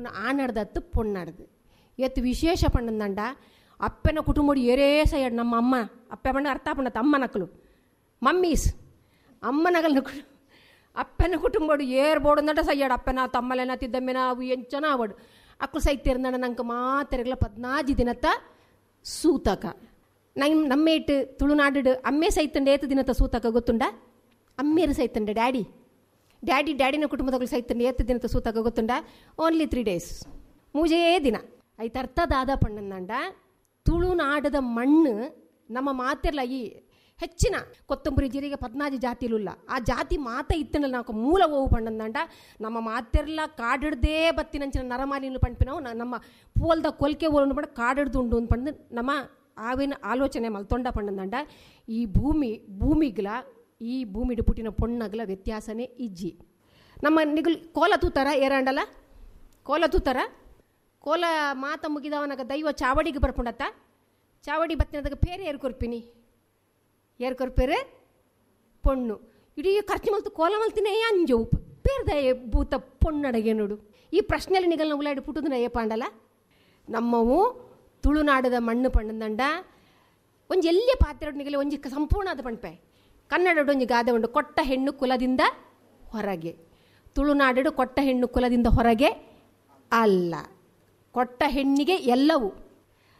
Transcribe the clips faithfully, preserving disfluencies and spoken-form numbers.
ಉಪ್ಪುನ ಆನಡ್ದತ್ತು ಪೊಣ್ಣಾಡ್ದು ಎತ್ತು ವಿಶೇಷ ಪಣ್ಣಂದಂಡ ಅಪ್ಪನ ಕುಟುಂಬಡು ಏರೇ ಸೈಡ್ ನಮ್ಮ ಅಮ್ಮ ಅಪ್ಪೆ ಪಂಡ ಅರ್ಥ ಪಂಡ ತಮ್ಮ ನಕಲು ಮಮ್ಮೀಸ್ ಅಮ್ಮನಗಲ್ನ ಅಪ್ಪನ ಕುಟುಂಬಡು ಏರ್ ಬೋಡಂದಂಡ ಸೈಯಾಡು ಅಪ್ಪನ ತಮ್ಮಲೆನ ತಿದ್ದಮ್ಮೆನ ಅವು ಎಂಚನ ಅವಡು ಅಕ್ಕಳು ಸೈತಿರ್ನಡ ನಂಗೆ ಮಾತೆರಗಲ ಪದ್ನಾಜಿ ದಿನತ್ತ ಸೂತಕ ನಮ್ ನಮ್ಮೇಟ್ ತುಳುನಾಡು ಅಮ್ಮೆ ಸೈತಂಡೆ ಏತು ದಿನತ್ತ ಸೂತಕ ಗೊತ್ತುಂಡ ಅಮ್ಮೇರು ಸೈತಂಡೆ ಡ್ಯಾಡಿ ಡ್ಯಾಡಿ ಡ್ಯಾಡಿನ ಕುಟುಂಬದಗಳು ಸೈತಂಡೆ ಏತು ದಿನತ್ತ ಸೂತಕ ಗೊತ್ತುಂಡ only three days ಮೂಜೇ ದಿನ ಐತ ಅರ್ಥ ದಾದ ಪಣ್ಣಂದಂಡ ತುಳುನಾಡದ ಮಣ್ಣು ನಮ್ಮ ಮಾತಿರ್ಲ ಈ ಹೆಚ್ಚಿನ ಕೊತ್ತಂಬರಿ ಜೀರಿಗೆ ಪದ್ನಾಜಿ ಜಾತಿಲುಲ್ಲ ಆ ಜಾತಿ ಮಾತ ಇತ್ತನಲ್ಲ ನಾವು ಮೂಲ ಓವು ಪಣ್ಣಂದಂಡ ನಮ್ಮ ಮಾತಿರ್ಲ ಕಾಡಿಡ್ದೇ ಬತ್ತಿನಂಚಿನ ನರಮಾಲಿನ ಪಂಪಿನವು ನಮ್ಮ ಪೋಲ್ದ ಕೊಲ್ಕೆ ಓಲನ್ನು ಪಂಡ ಕಾಡಿಡ್ದು ಉಂಡು ಅಂತ ಪಂಡು ನಮ್ಮ ಆವಿನ ಆಲೋಚನೆ ಮಲ್ತೊಂಡ ಪಣ್ಣಂದಂಡ ಈ ಭೂಮಿ ಭೂಮಿಗ್ಲ ಈ ಭೂಮಿಡು ಪುಟ್ಟಿನ ಪೊಣ್ಣಗ್ಲ ವ್ಯತ್ಯಾಸನೇ ಇಜ್ಜಿ. ನಮ್ಮ ನಿಗುಲ್ ಕೋಲ ತೂತಾರ ಏರಾಂಡಲ ಕೋಲ ತೂತಾರ ಕೋಲ ಮಾತ ಮುಗಿದವನಾಗ ದೈವ ಚಾವಡಿಗೆ ಬರ್ಪುಂಡತ್ತ ಚಾವಡಿ ಬತ್ತಿನದಾಗ ಪೇರೆ ಏರ್ ಕೊರ್ಪಿನಿ ಏರ್ ಕೊರ್ಪೇರೆ ಪೊಣ್ಣು ಇಡೀ ಖರ್ಚು ಮಲ್ತು ಕೋಲ ಮಲ್ತಿನೇ ಅಂಜು ಪೇರ್ದ ಭೂತ ಪೊಣ್ಣಡಗೆ ನೋಡು. ಈ ಪ್ರಶ್ನೆಯಲ್ಲಿ ನಿಗಲ್ನ ಉಲಾಡಿ ಪುಟ್ಟುದನ ಏಪಾಂಡಲ ನಮ್ಮವು ತುಳುನಾಡದ ಮಣ್ಣು ಪಣ್ಣಂದಂಡ ಒಂಜಿ ಎಲ್ಲಿಯ ಪಾತ್ರೆ ನಿಗಲಿ ಒಂಜಿ ಸಂಪೂರ್ಣ ಅದು ಪಣ್ಪೆ ಕನ್ನಡಡು ಒಂಜಿ ಗಾದೆ ಉಂಡು ಕೊಟ್ಟ ಹೆಣ್ಣು ಕುಲದಿಂದ ಹೊರಗೆ. ತುಳುನಾಡು ಕೊಟ್ಟ ಹೆಣ್ಣು ಕುಲದಿಂದ ಹೊರಗೆ ಅಲ್ಲ, ಕೊಟ್ಟ ಹೆಣ್ಣಿಗೆ ಎಲ್ಲವೂ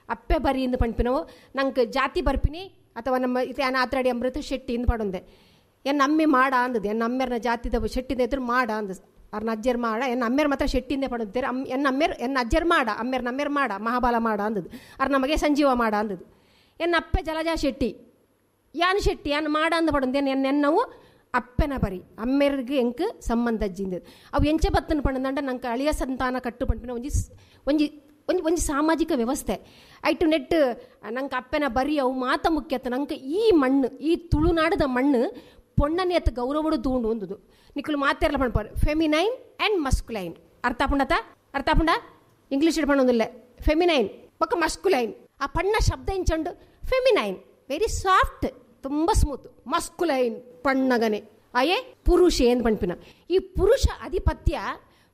ಅಪ್ಪೆ ಬರಿ ಎಂದು ಪಣ್ಪಿನವು. ನಂಗೆ ಜಾತಿ ಬರ್ಪಿನಿ ಅಥವಾ ನಮ್ಮ ಇತ್ತೆ ಆತ್ರಾಡಿ ಅಮೃತ ಶೆಟ್ಟಿ ಇಂದು ಪಡೊಂದೆ ಎನ್ನ ಅಮ್ಮೆ ಮಾಡ ಅಂದದ್ದು ಎನ್ನ ಅಮ್ಮೆರ್ನ ಜಾತಿದ ಶೆಟ್ಟಿಂದ ಎದುರು ಮಾಡ ಅಂದ ಅವ್ರನ್ನ ಅಜ್ಜರ್ ಮಾಡ ಎನ್ನ ಅಮ್ಮೆರ್ ಮಾತ್ರ ಶೆಟ್ಟಿಂದೇ ಪಡೊಂತಾರೆ ಅಮ್ ಎನ್ನ ಅಮ್ಮೆರ್ ಎನ್ನ ಅಜ್ಜರ್ ಮಾಡ ಅಮ್ಮೆರ್ ನಮ್ಮೆರ್ ಮಾಡ ಮಹಾಬಲ ಮಾಡ ಅಂದದ್ದು ಅವ್ರ ನಮಗೆ ಸಂಜೀವ ಮಾಡ ಅಂದದ್ದು. ಎನ್ನ ಅಪ್ಪೆ ಜಲಜಾ ಶೆಟ್ಟಿ ಯಾನ್ ಶೆಟ್ಟಿ ಯಾನ್ ಮಾಡ ಅಂದ ಪಡೊಂದೆ ಎನ್ನ ಎನ್ನವು ಅಪ್ಪೆನ ಬರಿ ಅಮ್ಮೆರ್ಗೆ ಎಂಕ್ ಸಂಬಂಧ ಅಜ್ಜಿಂದದ್ದು ಅವು ಎಂಚೆ ಬತ್ತನ ಪಣ್ಣಂದಂಡ ನಂಗೆ ಅಳಿಯ ಸಂತಾನ ಕಟ್ಟು ಪಂಪಿನ ಒಂಜಿ ಒಂಜಿ ಒಂಜಿ ಒಂಜಿ ಸಾಮಾಜಿಕ ವ್ಯವಸ್ಥೆ ಐಟು ನೆಟ್ ನಂಗೆ ಅಪ್ಪೆನ ಬರಿ ಅವು ಮಾತ ಮುಖ್ಯತ. ನಂಗೆ ಈ ಮಣ್ಣು ಈ ತುಳುನಾಡದ ಮಣ್ಣು ಪೊಣ್ಣನೆ ಅತ್ತ ಗೌರವಡು ತೂಂಡು ಒಂದುದು ನಿಕ್ಕಲು ಮಾತೆರ್ಲ ಪಣ್ಪಾರು ಫೆಮಿನೈನ್ ಆ್ಯಂಡ್ ಮಸ್ಕುಲೈನ್ ಅರ್ಥ ಪುಂಡತ ಅರ್ಥ ಪುಂಡ ಇಂಗ್ಲೀಷ್ ಪಣ್ಣೊಂದಿಲ್ಲ ಫೆಮಿನೈನ್ ಪಕ್ಕ ಮಸ್ಕುಲೈನ್ ಆ ಪಣ್ಣ ಶಬ್ದ ಇಂಚಂಡು feminine very soft ತುಂಬ ಸ್ಮೂತ್ ಮಸ್ಕುಲೈನ್ ಪಣ್ಣಗನೆ ಅಯೇ ಪುರುಷ ಏನು ಪಣ್ಪಿನ ಈ ಪುರುಷ ಅಧಿಪತ್ಯ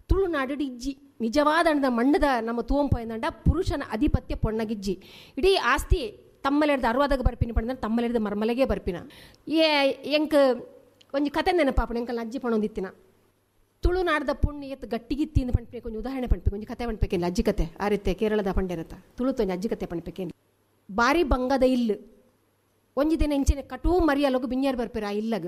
ತುಳುನಾಡು ಇಜ್ಜಿ ನಿಜವಾದ ಅಣ್ಣದ ಮಣ್ಣದ ನಮ್ಮ ತೂಂಪ ಏನಂಡ ಪುರುಷನ ಅಧಿಪತ್ಯ ಪೊಣ್ಣಗಿಜ್ಜಿ ಇಡೀ ಆಸ್ತಿ ತಮ್ಮಲೆಡ್ದು ಅರ್ವಾದಾಗ ಬರ್ಪಿನ ಪಂಡ ತಮ್ಮಲೆಡ್ದು ಮರ್ಮಲೆಗೆ ಬರ್ಪಿನ ಏ ಎಂಕ್ ಒಂಜಿ ಕತೆ ನೆನಪಾಪಣ ಎಂಕಲ್ ಅಜ್ಜಿ ಪಣೊಂದಿತ್ತಿನ ತುಳುನಾಡದ ಪೊಣ್ಣು ಎತ್ತು ಗಟ್ಟಿಗಿತ್ತಿ ಅಂತ ಪಣ್ಪೇಕು ಒಂಜಿ ಉದಾಹರಣೆ ಪಣ್ಪೇಕು ಒಂಜಿ ಕತೆ ಪಣ್ಪೇಕಿಲ್ಲ ಅಜ್ಜಿ ಕತೆ ಆ ರೀತಿ ಕೇರಳದ ಪಂಡೆರತ್ತ ತುಳುತು ಒಂಜಿ ಅಜ್ಜಿ ಕತೆ ಪಣ್ಪೇಕೇನು. ಬಾರಿ ಬಂಗದ ಇಲ್ಲು ಒಂಜಿ ದಿನ ಇಂಚಿನ ಕಟೂ ಮರಿಯಲಗು ಬಿಂಜಾರು ಬರ್ಪೇರು ಆ ಇಲ್ಲಗ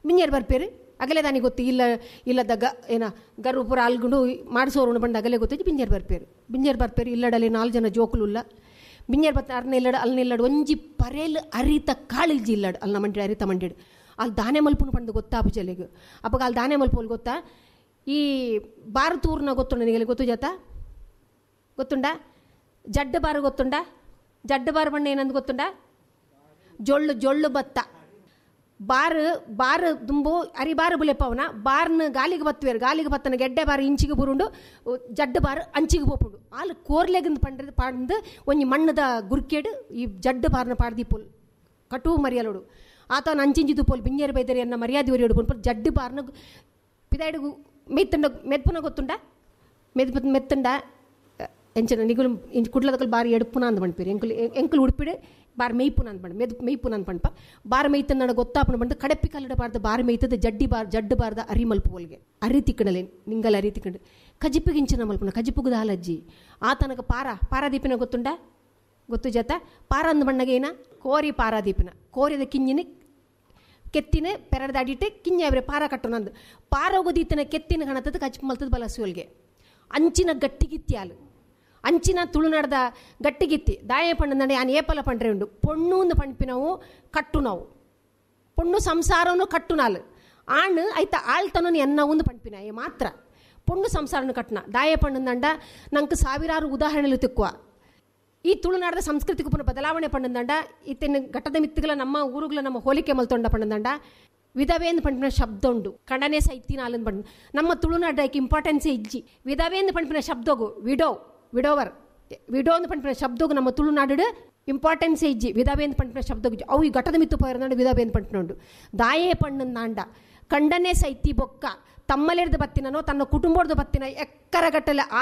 ಬಿಂಜಾರು ಬರ್ಪೇರು ಅಗಲೇ ದಾನಿ ಗೊತ್ತು ಇಲ್ಲ ಇಲ್ಲದ ಗ ಏನ ಗರು ಪೂರ ಅಲ್ಗುಂಡು ಮಾಡಿಸೋರು ಬಂದು ಅಗಲೇ ಗೊತ್ತು ಬಿಂಜಾರು ಬರ್ಪೇರು ಬಿಂಜಾರು ಬರ್ಪೇರು ಇಲ್ಲಡಲ್ಲಿ ನಾಲ್ಕು ಜನ ಜೋಕುಲುಲ್ಲ ಬಿಂಜಾರು ಬತ್ತ ಅರ್ನ ಇಲ್ಲಡ ಅಲ್ನ ಇಲ್ಲಡು ಒಂಜಿ ಪರೇಲು ಅರಿತ ಕಾಳಿಲ್ಜಿ ಇಲ್ಲಡು ಅಲ್ನ ಮಂಡಿ ಅರಿತ ಮಂಡಿಡು ಅಲ್ಲಿ ದಾನೆ ಮಲ್ಪುನು ಪಂಡು ಗೊತ್ತಾ ಪುಜಲಿಗೆ ಅಪ್ಪಗ ಅಲ್ಲಿ ದಾನೆ ಮಲ್ಪೋಲ್ ಗೊತ್ತಾ ಈ ಬಾರು ತೂರ್ನ ಗೊತ್ತುಂಡ ನಿನಗೆ ಗೊತ್ತು ಜಾತ ಗೊತ್ತುಂಡ ಜಡ್ಡು ಬಾರು ಗೊತ್ತುಂಡ ಜಡ್ಡು ಬಾರು ಬಣ್ಣ ಏನಂದು ಗೊತ್ತುಂಡ ಜೊಳ್ಳು ಜೊಳ್ಳು ಭತ್ತ ಬಾರು ಬಾರು ದುಂಬು ಅರಿ ಬಾರು ಬುಲೆಪವನ ಬಾರ್ನ ಗಾಲಿಗೆ ಬತ್ತುವೇರು ಗಾಲಿಗೆ ಬತ್ತನ ಗೆಡ್ಡೆ ಬಾರು ಇಂಚಿಗೆ ಬುರುಂಡು ಜಡ್ಡು ಬಾರು ಅಂಚಿಗೆ ಪೋಪುಂಡು ಆಲು ಕೋರ್ಲೆಗಂದು ಪಂಡ್ರದು ಪಾಡ್ದು ಒಂಜಿ ಮಣ್ಣದ ಗುರ್ಕೇಡು ಈ ಜಡ್ಡು ಬಾರ್ನ ಪಾಡ್ದಿಪೋಲ್ ಕಟು ಮರಿಯಲೋಡು ಆತನ ಅಂಚಿಂಚಿ ತುಪ್ಪೋಲ್ ಬಿಂಜೇರು ಬೈದರೆ ಎನ್ನ ಮರ್ಯಾದೆ ಒರಿಯೋಡು ಪನ್ಪುರ್ ಜಡ್ಡು ಬಾರ್ನ ಪಿದಾಯ್ಡು ಮೆತ್ತುಂಡ ಮೆತ್ಪುನ ಗೊತ್ತುಂಡ ಮೆದ್ ಮೆತ್ತುಂಡ ಎಂಚಿನ ನಿಗುಲು ಇಂಚ್ ಕುಡ್ಲದಕಲ್ ಬಾರಿ ಎಡುಪುನ ಅಂದ್ ಪಣ್ಪೇರು ಎಂಕುಲು ಎಂಕುಲು ಉಡುಪಿಡು ಬಾರ್ ಮೇಯ್ಪುನ ಅಂದ್ ಪಂಡ ಮೆದ್ ಮೇಯ್ಪುನ ಅಂದ್ ಪಣ್ಪ ಬಾರ್ ಮೇಯ್ತನ್ನ ಗೊತ್ತಾಪನ ಬಂದು ಕಡಪ್ಪಿ ಕಲ್ಲಡ ಬಾರ್ದ ಬಾರ್ ಮೇಯ್ತದ ಜಡ್ಡಿ ಬಾರ್ ಜಡ್ಡು ಬಾರ್ದ ಅರಿ ಮಲ್ಪು ಒಲ್ಗೆ ಅರಿ ತಿಕ್ಕಣಲೆ ನಿಂಗಲ್ ಅರಿ ತಿಕ್ಕಂಡು ಕಜಿಪಿಗಿಂಚಿನ ಮಲ್ಪುನ ಕಜಿಪುಗದ ಹಾಲಜ್ಜಿ ಆತನಕ ಪಾರ ಪಾರಾದೀಪಿನ ಗೊತ್ತುಂಡ ಗೊತ್ತು ಜತ ಪಾರ ಅಂದ ಬಣ್ಣಗೆ ಏನ ಕೋರಿ ಪಾರಾದೀಪಿನ ಕೋರಿದ ಕಿಂಜಿನ ಕೆತ್ತಿನ ಪೆರಡ್ದ ಅಡಿಟ್ಟು ಕಿಂಜ ಪಾರ ಕಟ್ಟುನಂದು ಪಾರೋಗದೀತನ ಕೆತ್ತಿನ ಗಣತದ ಕಜಿಪು ಮಲ್ತದ ಬಲಸುವಲ್ಗೆ ಅಂಚಿನ ಗಟ್ಟಿಗಿತ್ತಿ ಹಾಲು ಅಂಚಿನ ತುಳುನಾಡದ ಗಟ್ಟಿಗಿತ್ತಿ ದಾಯ ಪಣ್ಣಂದಂಡೆ ಯಾನ್ ಏಪಲ ಪಂಡ್ರೆ ಉಂಡು ಪೊಣ್ಣು ಒಂದು ಪಣ್ಪಿನವು ಕಟ್ಟು ನಾವು ಪೊಣ್ಣು ಸಂಸಾರನು ಕಟ್ಟು ನಾಲು ಆಣ್ ಐತ ಆಳ್ತನೂ ಎನ್ನ ಒಂದು ಪಣ್ಪಿನ ಏ ಮಾತ್ರ ಪೊಣ್ಣು ಸಂಸಾರನು ಕಟ್ಟನ ದಾಯ ಪಣ್ಣಂದಂಡ ನಂಗೆ ಸಾವಿರಾರು ಉದಾಹರಣೆలు ತಿಕ್ಕುವ ಈ ತುಳುನಾಡದ ಸಂಸ್ಕೃತಿಗೆ ಪುನಃ ಬದಲಾವಣೆ ಪಣ್ಣಂದಂಡ ಇತ್ತಿನ ಘಟ್ಟದ ಮಿತ್ತುಗಳ ನಮ್ಮ ಊರುಗಳ ನಮ್ಮ ಹೋಲಿಕೆ ಮಲ್ತೊಂಡ ಪಣ್ಣಂದಂಡ ವಿಧವೇಂದು ಪಂಪಿನ ಶಬ್ದ ಉಂಡು ಕಡನೆ ಸೈತಿನ ಅಲ್ಲಂದು ಪಂಡ ನಮ್ಮ ತುಳುನಾಡಕ್ಕೆ ಇಂಪಾರ್ಟೆನ್ಸೇ ಇಜ್ಜಿ ವಿಧವೇಂದು ಪಂಪಿನ ಶಬ್ದಗು ವಿಡೋ ವಿಡೋವರ್ ವಿಡೋ ಅಂದ್ ಪಂಪಿನ ಶಬ್ದಗು ನಮ್ಮ ತುಳುನಾಡು ಇಂಪಾರ್ಟೆನ್ಸೇ ಇಜ್ಜಿ ವಿಧವೇಂದು ಪಂಪಿನ ಶಬ್ದಗು ಅವು ಈ ಘಟದ ಮಿತ್ತು ಪೋಯರ್ನಾಡು ವಿಧವೇಂದು ಪಂಪಿನೋಂಡು ದಾಯೇ ಪಣ್ಣಂದಾಂಡ ಕಂಡನೆ ಸೈತಿ ಬೊಕ್ಕ ತಮ್ಮಲೆರ್ದು ಬತ್ತಿನೋ ತನ್ನ ಕುಟುಂಬದ ಬತ್ತಿನ ಎಕ್ಕರಗಟ್ಟಲೆ ಆಸ್ತಿ